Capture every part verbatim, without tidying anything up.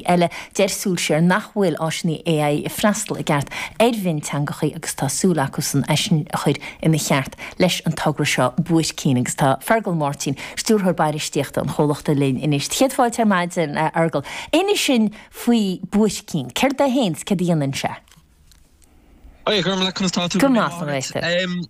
eile. Deir Súil Siar nach bhfuil áiseanna AI ag freastal i gceart ar mhionteangachaí agus tá súil acusan é sin a chur ina cheart leis an togra seo Buaircín agus tá Fergal Máirtín, Stiúrthóir Bainistíochta an chomhlachta linn anois. Céad fáilte ar maidin, a Fheargail. Inis dúinn faoi Buaircín. Céard é féin 's céard a dhéanann sé? Hi, Gormlaith, conas tá tú? Go maith, an raibh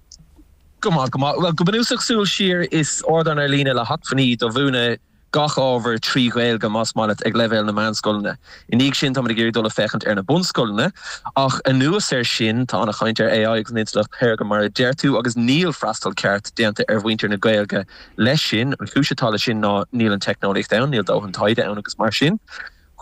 Go maith, go maith. Well, go bunúsach Súil Siar is ardán ar líne le hacmhainní do mhúineadh gach ábhar trí Ghaeilge más maith leat ag leibhéal na meánscoileanna. I ndiaidh sin táimid ag iarraidh dul ag féachaint ar na bunscoileanna, ach anuas air sin tá an-chaint ar AI agus an intleacht shaorga mar a deir tú agus níl freastal ceart déanta ar mhuintir na Gaeilge leis sin. An chúis atá leis sin ná níl an teicneolaíocht ann, níl dóthain taighde ann agus mar sin.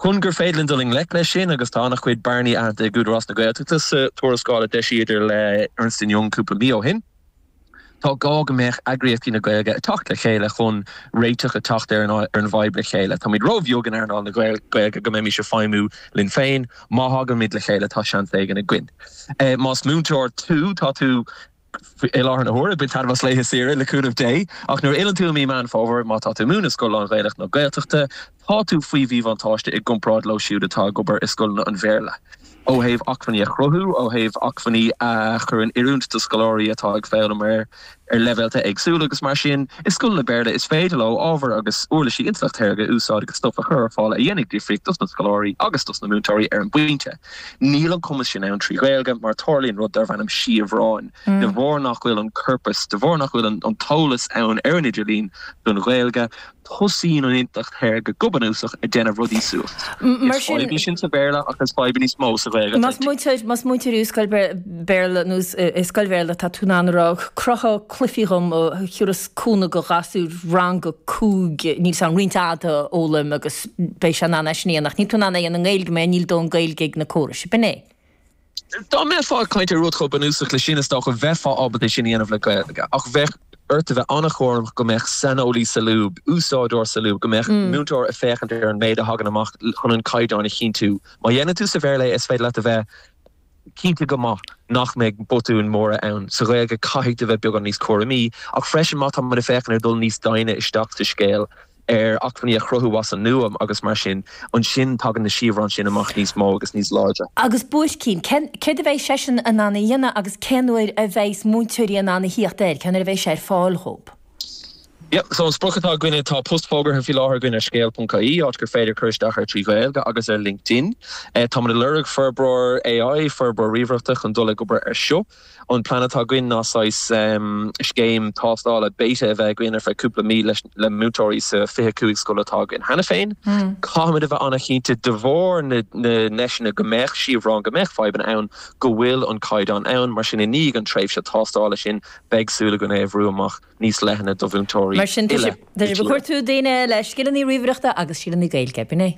Chun gur féidir linn dul i ngleic leis sin agus tá an-chuid bearnaí aitheanta ag Údarás na Gaeltachta sa tuarascáil a d'eisíodar le Ernst and Young cúpla mí ó shin. Tá gá go mbeadh eagraíochtaí na Gaeilge ag teacht le chéile chun réiteach a teacht ar an ar an bhfadhb le chéile. Táimid róbheag in earnáil na Gaeilge go mbeimis ag feidhmiú linn féin, má thagann le chéile tá seans éigin againn. Más múinteoir tú tá tú i láthair na huaire ag baint taitneamh as laetha saoire le cúnamh Dé, ach nuair a fhilleann tú i mí Meán Fómhair má tá tú ag múineadh scoil lán-Ghaelach nó Gaeltachta, tá tú faoi mhíbhuntáiste i gcomparáid leo siúd atá ag obair i scoileanna an Bhéarla. ó thaobh acmhainní a chruthú, ó thaobh acmhainní a chur in oiriúint do scoláirí atá ag foghlaim ar ar leibhéalta éagsúla agus mar sin i scoileanna Béarla is féidir leo ábhar agus uirlisí intleacht shaorga a úsáid agus stuff a chur ar fáil a dhéanfaidh difríocht dos na scoláirí agus dos na múinteoirí ar an bpointe. Níl an cumas sin ann trí Ghaeilge mar tarlaíonn rud darb ainm siabhráin. De bharr nach bhfuil an corpas, de bharr nach bhfuil an, an t-eolas ann ar an idirlíon don Ghaeilge, tosaíonn an intleacht shaorga go bunúsach ag déanamh rudaí suas. Mar Is fadhb í sin sa Bhéarla ach is fadhb níos mó sa Ghaeilge. Más múinteoir más múinteoir i scoil Béarla nó i scoil Bhéarla tá tú in ann a rá cruthaigh cluichí dhom a thabharfas cúnamh do ghasúir rang a cúig níl san roinnt fhada a fhoghlaim agus beidh sé in ann é sin a dhéanamh ach níl tú in ann é a dhéanamh i nGaeilge mar níl dóthain Gaeilge ag na córais. B'in é. Dá mbeifeá ag caint ar rud chomh bunúsach le sin is dócha bheifeá ábalta sin a dhéanamh le Gaeilge ach bheadh ort a bheith an-chúramach go mbeadh saineolaí sa lúb, úsáideoir sa lúb, go mbeadh múinteoir ag féachaint ar an méid a thagann amach chun an caighdeán a chinntiú. Má dhéanann tú sa Bhéarla é is féidir leat a bheith cinnte go maith nach mbeidh botúin mhóra ann. Sa Ghaeilge caithfidh tú bheith beagán níos cúramaí, ach freisin má tá muid ag féachaint ar dul níos doimhne isteach sa scéal ar acmhainní a chruthú as an nua agus mar sin, ansin tagann na siabhráin sin amach níos mó agus níos láidre. Agus Buaircín, céard a bheidh seisean in ann a dhéanamh agus cén uair a bheidh múinteoirí in ann a thíocht air, cén uair a bheidh sé ar fáil dhóibh? Yep, so an sprioc atá againne tá post fógartha faoi láthair againn ar scéal.ie áit gur féidir cur isteach ar trí Ghaeilge agus ar LinkedIn. Uh, Tá muid ag lorg forbróir AI, forbróir ríomhaireachta chun dul ag obair ar seo. An plean atá againn ná saghas um, scéim tástála beta a bheith againn ar feadh cúpla mí leis le múinteoirí sa fiche cúig scoil atá againn cheana féin. Mm. Caithfimid a bheith an-chinnte de bharr na, na ndeiseanna go mbeadh siabhráin go mbeadh fadhbanna ann go bhfuil an caighdeán ann, mar sin i ndiaidh an tréimhse tástála sin beidh súil againn é a bhrú amach níos leithne do mhúinteoirí. Mar sin tá sibh ag cuartú daoine le scileanna ríomhaireachta agus scileanna Gaeilge, b'in é.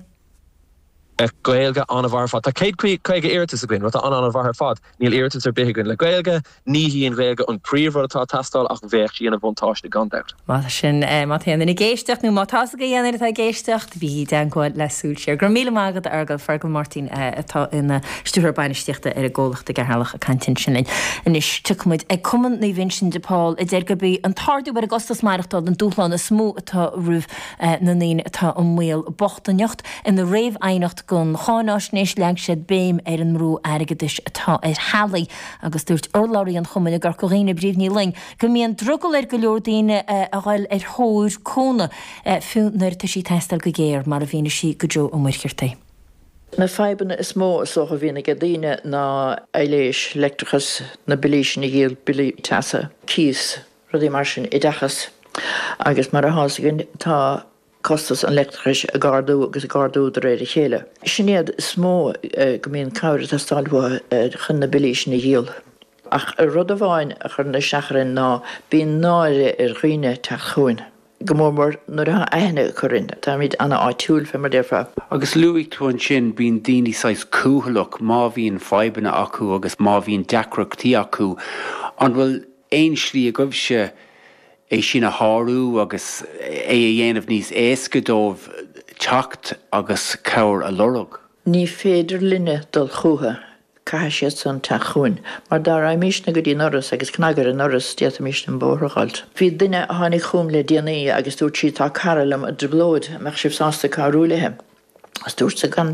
Gaeilge an-mhaith ar fad. Tá céad caoga iarratas againn, rud an-an-mhaith ar fad. Níl iarratas ar bith againn le Gaeilge, ní hí an Ghaeilge an príomhrud atá ag teastáil ach bheadh sí ina bhuntáiste gan dabht. Má sin má tá aon duine ag éisteacht nó má tá a fhios ag aon duine atá ag éisteacht, bígí i dteagmháil le Súil Siar. Go raibh míle maith agat a Fheargail Fergal Máirtín atá ina stiúrthóir bainistíochta ar an gcomhlacht i gCeatharlach ag caint ansin linn. Anois tiocfaimid ag Cumann Naomh Uinseann de Pól a deir gurb í an t-ardú ar an gcostas maireachtála an dúshlán is mó atá roimh na ndaoine atá i mbaol bochtaineacht. Ina réamhaighneacht don cháinaisnéis leag siad béim ar an mbrú airgeadais atá ar theaghlaigh agus dúirt urlabhraí an chumainn i gCorca Dhuibhne Bríd Ní Fhloinn go mbíonn drogall ar go leor daoine a dhul ar thóir cúnamh fiú nuair atá sí ag teastáil go géar mar a mhínigh sí do Joe Ó Muircheartaigh. Na fadhbanna is mó is dócha a bhíonn ag daoine ná aibhléis, leictreachas, na billí sin a dhíol, billí teasa, cíos, rudaí mar sin, oideachas. Agus mar atá a fhios againn tá costas an leictreachais ag ardú agus ag ardú de réir a chéile. Sin iad is mó go mbíonn cabhair ag teastáil uathu chun na billí sin a dhíol. Ach rud amháin a chuireann isteach orainn ná bíonn náire ar dhaoine teacht chugainn, go mór mór nuair atá aithne acu orainn. Táimid an-áitiúil, fé mar a déarfá. Agus luaigh tú ansin bíonn daoine saghas cúthaileach má bhíonn fadhbanna acu agus má bhíonn deacrachtaí acu. An bhfuil aon slí agaibhse é sin a shárú agus é a dhéanamh níos éasca dóibh teacht agus cabhair a lorg? Ní féidir linne dul chucu, caithfidh siad san teacht chugainn, mar dá raghaimísne go dtí an doras agus cnagadh ar an ndoras, d'fhéadfaimis an bóthar a dh'fháilt. Bhí duine a tháinig chugam le déanaí agus dúirt sí tá cara liom i dtrioblóid, an mbeadh sibh sásta cabhrú léi? Is dúirt-sa gan dabht.